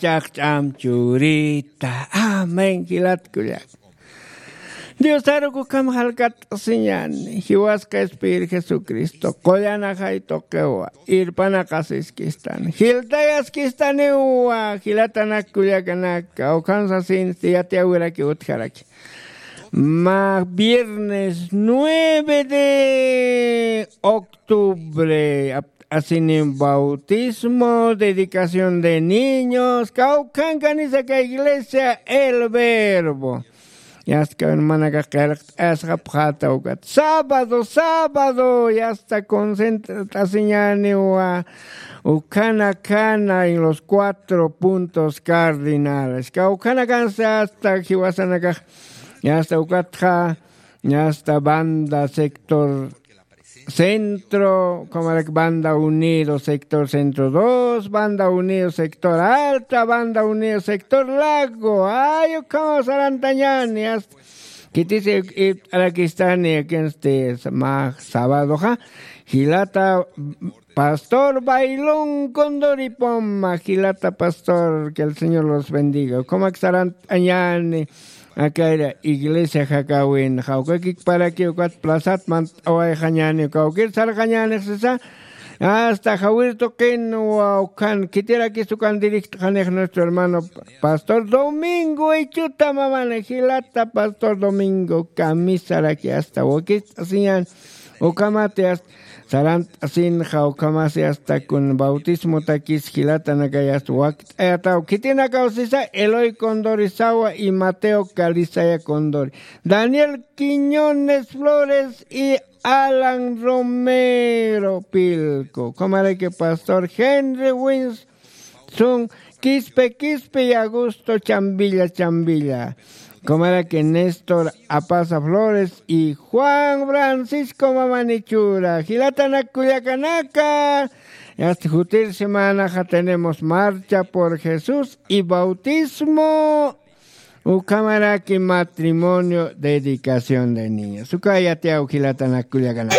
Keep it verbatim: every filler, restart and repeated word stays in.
chaqch'am churita. Amén, jilat kullak. Diosaruk ukham jalkat'asiñani, jiwasqa Espíritu Jesucristo qullanaxay tuqiwa, irpanaqasiskistani, jiltayaskistaniwa, jilatanak kullakanaka, ukham sasinsti yatiyawiraki utjaraki. Ma viernes nueve de octubre, ap-, asini bautismo, dedicación de niños, kawkhankanisa ka iglesia El Verbo. Yasta kawin manaka qillqt'asqapxata ukat. Sábado, sábado, yasta concentrt'asiñaniwa ukhana khana en los cuatro puntos cardinales. Kawkhanakansa hasta jiwasanakax, yasta ukatxa, yasta banda sector centro, como la banda unido, sector centro dos, banda unido, sector alta, banda unido, sector lago. Ay, ukhama sarantañani, hasta. Kitisi, y, arakistani, aquí en este, ma, sábado, ja. Jilata, pastor Bailón Condori Poma, jilata pastor, que el Señor los bendiga. Como que sarantañani, akayra iglesia jakawin, jawkakik para que ukat plazat mant'awayxañani, kawkir sarxañani sisa, hasta jawir tuqin, wa, ukan, kitirakis ukan directxanix nuestro hermano pastor Domingo Ichuta mamani, jilata pastor Domingo, kamisaraki hasta wakist'asiñan, ukamati hasta sarant'asinxa, ukamasi hasta kun bautismotakis jilatanakay hasta wakt'ayataw, khitinakaw sisa, Eloy Condori Sawa y Mateo Calizaya Condori, Daniel Quiñones Flores y Alan Romero Pilco, ukamaraki pastor Henry Wins, Sun Quispe Quispe y Augusto Chambilla Chambilla. Comaraki Néstor Apaza Flores y Juan Francisco Mamanichura. Jilatanak kullakanaka. Hasta jutir semanaxa tenemos marcha por Jesús y bautismo. Ukamaraki matrimonio, dedicación de niños. Ukayatiaw jilatanak kullakanaka.